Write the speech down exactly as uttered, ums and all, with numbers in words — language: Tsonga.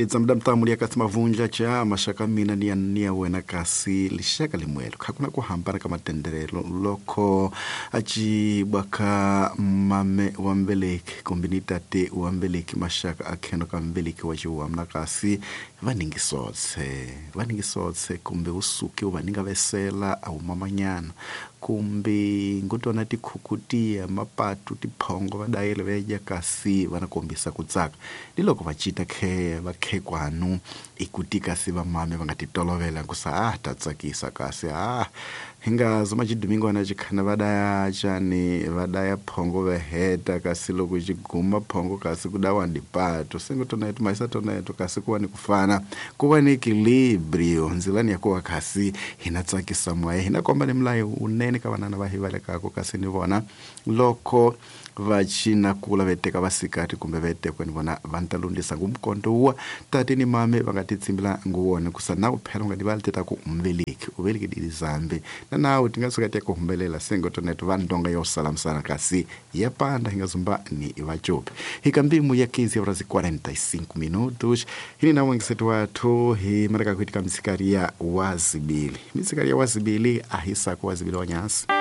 Litsamda mtamu lia kasi mavunja cha mashaka mina ni ya nia wena kasi lishaka limwelo. Hakuna kuhambana kama tenderelo loko achi bwaka mame wa mbeleki kumbi tate wa mbeleki mashaka akheno ka mbeleki wa chiwamna kasi vaningisotse vaningisotse kumbe usuke uvaninga vesela au mamanyana kumbe ngotona tikhukutia mapatu tiphongo vadayele veja kasi vanakombisa kutsaka ni loko va cita khe va khekwanu ikuti kasi vamame va nga titolovela nkusa ah ta tsakisa kasi ah hinga zoma chidumingwana chikhana vadaya chani vadaya phongo veheta kasi loko chiguma phongo kasi kudawa ndipato sengo toneto maisa toneto kasi kuwa ni kufana kuwa ni equilibrio nzilani yakuwa kasi hina tsakisa mwaye hina komba ni mlayo unene ka vanana va hivalekako kasi ni vona loko vachina kula veteka vasikati kumbe vetekwe ni vona va nta lundisa ngumkondo wa tate ni mame va nga titsimbila nguwona kusa na uphela unga divali teta ku umveleki uveleki dilizambe na nawu tinga suka te ku humbelela sengo toneto va ndonga yo salamsana kasi ya panda hinga zumba ni vachopi hikambimu ya quinze horas e quarenta e cinco minutos hini na mwengisetu wathu hi maraka kuitika misikaria wazibili misikaria wazibili ahisako wazibili wanyasi.